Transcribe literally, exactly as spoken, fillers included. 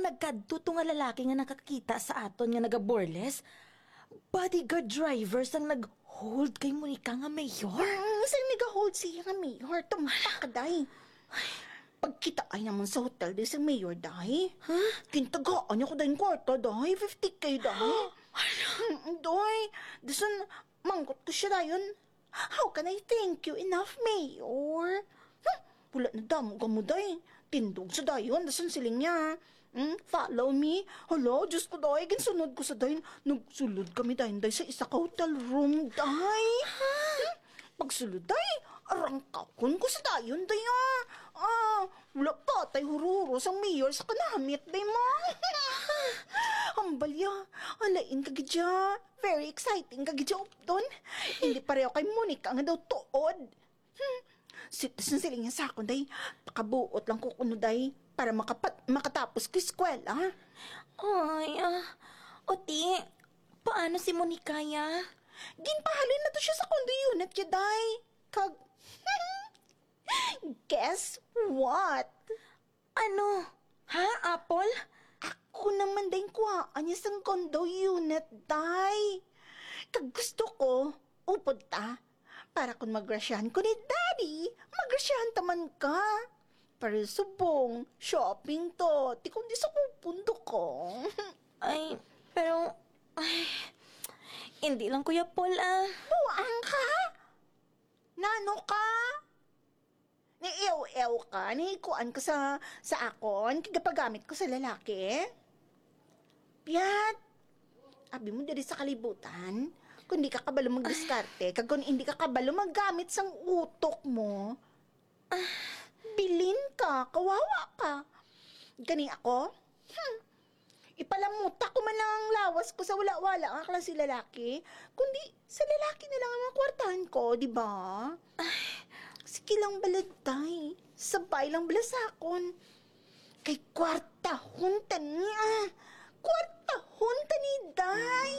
Nagkadto to nga lalaki nga nakakita sa aton nga naga-burles. Bodyguard driver sang nag-hold kay Monica nga mayor. Mm, sang nag-hold siya nga mayor, tumpak, day. Pagkita ay naman sa hotel, day, sa mayor, day. Huh? Gintagaan niya ko, day, ang kwarta, day. Fifty K, day. Mm, day. Dason, mangkot ko siya, dayon. "How can I thank you enough, Mayor?" Hmm, wala na damo ka mo, day. Tindog sa dayon, dason siling niya, "Hmm, follow me." Hala, Diyos ko, day, ginsunod ko sa dayon. Nagsulod kami dayon, day, sa isa ka hotel room, day. Hmm, pagsulod, day, arangkakon ko sa dayon, day, ah. Ah, wala pa tay hururo sang mayor sa kanamit, day, ma. Ang balya, alain ka gid siya. Very exciting ka gid siya, upton. Hindi pareho kay Monica nga daw tuod. Hmm. Sit, siling niya sa akon, day. Pakabuot lang ko kuno, day, para makapat-, makatapos ko eskwela. Ay, ah, Oti, paano si Monica, ya? Ginpahalin na to siya sa condo unit, ya, day. Kag, guess what? Ano? Ha, Apple? Ako naman, day, kuhaan niya sang condo unit, day. Kag gusto ko, upod ta. Para kung magrasyahan ko ni Daddy, magrasyahan ta man ka. Para subong, shopping to. Ti kundi sa kupundo ko. Ay, pero, ay, hindi lang, Kuya Paul, ah. Buang ka? Nano ka? Ni-ew-ew ka? Ni kuan ka sa, sa akon? Kagapagamit ko sa lalaki? Piyat! Abi mo diri sa kalibutan, kung di ka kabalo magdiskarte, kag kung hindi ka kabalo maggamit sang utok mo, ah, bilin ka, kawawa ka. Gani ako? Hmm. Ipalamuta ko man lang ang lawas ko sa wala-wala nga klase lalaki, kundi sa lalaki na lang ang mga kwartahan ko, di ba? Ay, sige lang bala, day. Sabay lang bala sa akon. Kay kwartahon ta ni, ah. Kwartahon ta ni, day.